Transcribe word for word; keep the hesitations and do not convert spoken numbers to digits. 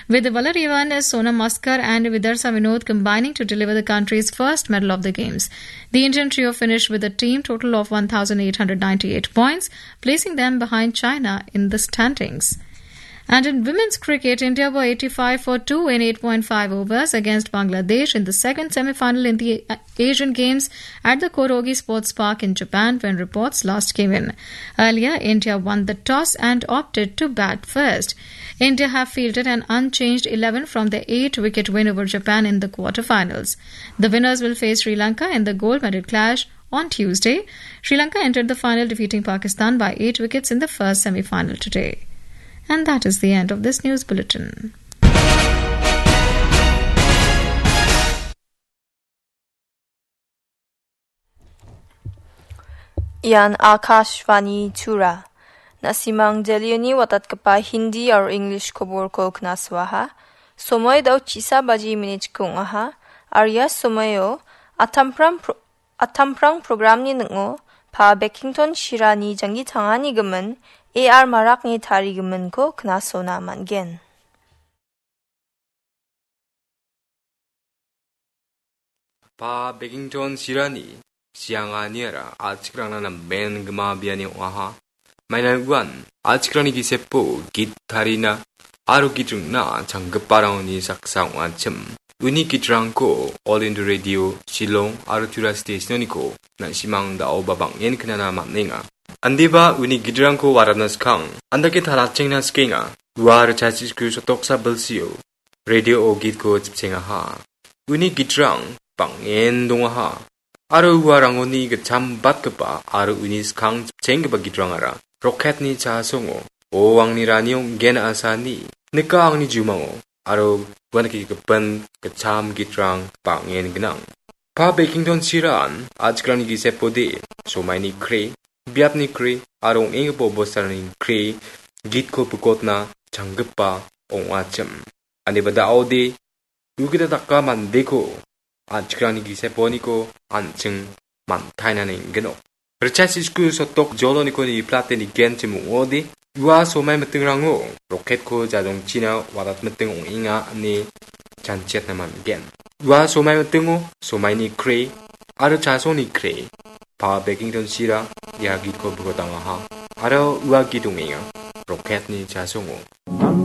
With Valarivan, Sonam Maskar and Vidarsa Vinod combining to deliver the country's first medal of the games. The Indian trio finished with a team total of one thousand eight hundred ninety-eight points, placing them behind China in the standings. And in women's cricket, India were eighty-five for two in eight point five overs against Bangladesh in the second semi-final in the Asian Games at the Kodogi Sports Park in Japan when reports last came in. Earlier, India won the toss and opted to bat first. India have fielded an unchanged eleven from their eight-wicket win over Japan in the quarterfinals. The winners will face Sri Lanka in the gold medal clash on Tuesday. Sri Lanka entered the final defeating Pakistan by eight wickets in the first semi-final today. And that is the end of this news bulletin. Ian Akashvani Tura. Na·simang Delhioni watatgipa Hindi aro English koborko knasoaha. Somoi dao chisa baji minit ong·aha. Aria somoio Atamprang pro-, Atamprang programni ning·o Pa Bekington Shirani janggi tangani gimin A R Marakni tarigiminko knasona man·gen. Pa Bekington Shirani sianganiara a·chikrangna namen gima biani ong·aha. Mainan uan a·chikrangni gisepo git tarina aro git ringna changgiparangoni saksa ong·achim. Uni gitrangko All India Radio, Shillong aro Tura Stationoniko na·simang da·oba bang·en knana man·enga. Andeba uni gitrangko warapna skang, andake talachengna skienga. Ua richachi sku sotoksa bilsio radio-o gitko chipchengaha. Uni gitrang bang·en dongaha. Aro uarangoni gitcham batgipa aro uni skang chipchenggipa gitrangara rocket-ni chasongo, "O angni rani ong·gen asani, nika angni jumango," aro uan gipin gitcham gitrang bang·en gnang. Pa Bekington Shiran a·chikrangni gisepode, somaini kre, biapni kre, aro ong·enggipa bosturangni kre, gitko pikotna changgipa ong·achim. Ande ba da·ode, ugita daka mandeko, an·chikrangni giseponiko an·ching mantaina neng·genok. Richard Sisku sotok joloniko niplate nigenchim ong·ode, ua somai mitingrango rocket-ko jajongchina wadat miting ong·enga ine chanchiatna man·gen. Ua somai mitingo somaini kre aro chasongni kre, Pa Bekington Shira ia gitko bikotangaha aro ua git ong·enga rocket-ni chasongo.